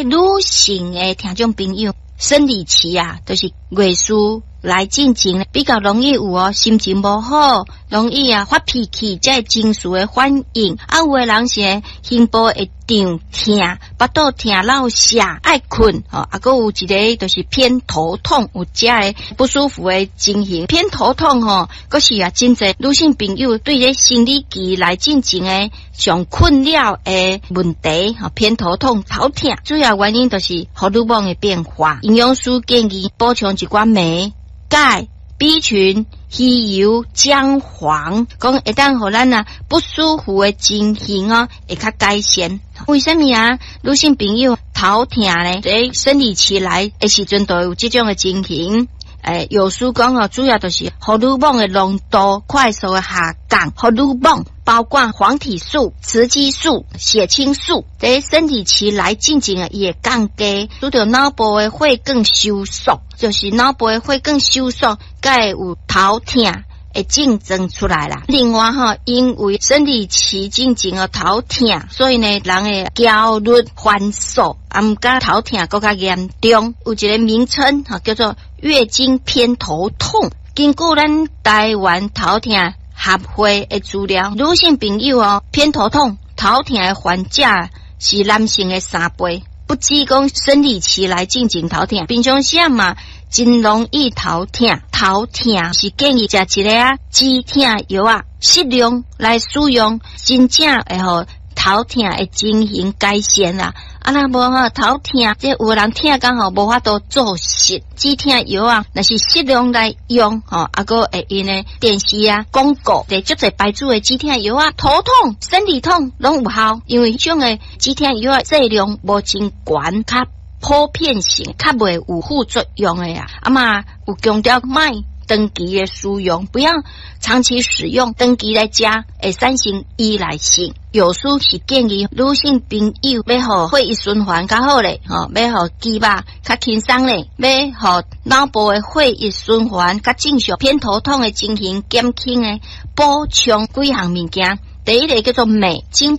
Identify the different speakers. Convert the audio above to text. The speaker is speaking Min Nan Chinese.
Speaker 1: 女性的聽眾朋友，生理期啊，就是月事來進前，比較容易有哦，心情無好，容易啊發脾氣，這个情緒的反應。啊，有的人是胸部會脹疼，腹肚疼落瀉，愛睏吼。啊，閣有一个就是偏頭痛，有這个不舒服的情形。偏頭痛吼，閣是啊，真濟女性朋友對咧生理期來進前的上困擾的問題吼，偏頭痛、頭疼，主要原因就是荷爾蒙的變化。營養師建議補充一寡鎂、鈣、B 群、魚油、薑黃，講會當予咱啊不舒服的情形哦，會較改善。為啥物啊？女性朋友頭疼呢？佇生理期來的時陣，就會有這種的情形。藥師講哦，主要就是荷爾蒙的濃度快速的下降，荷爾蒙包括黃體素、雌激素、血清素，佇生理期來進前啊，伊會降低，使著腦部的血管收縮，就是腦部的血管收縮，才會有頭疼的症狀出來啦。另外吼，因為生理期進前哦頭疼，所以呢，人會焦慮、煩躁，啊，毋過頭疼閣較嚴重。有一個名稱吼，叫做月經偏頭痛。根據咱台灣頭疼協會的資料，女性朋友哦，偏頭痛、頭疼的患者是男性的3倍。不止講生理期來進前頭疼，平常時嘛真容易頭疼。頭疼是建議食一个啊止疼藥啊，適量來使用，真正會予頭疼的情形改善啦。啊，若無吼頭疼，這有的人疼甲吼無法度做事，止疼藥啊，若是適量來用吼，啊，閣會用的電視啊廣告，佇足濟牌子的止疼藥啊，頭痛、生理痛攏有效，因為彼種的止疼藥啊劑量無真懸，較普遍性，較袂有副作用的啊。啊嘛有強調莫長期的使用，不要長期使用，長期來食會產生依賴性。藥師是建議女性朋友欲予血液循環較好咧，吼，欲予肌肉較輕鬆咧，欲予腦部的血液循環較正常，偏頭痛的情形減輕的，補充幾項物件。第一个叫做鎂，精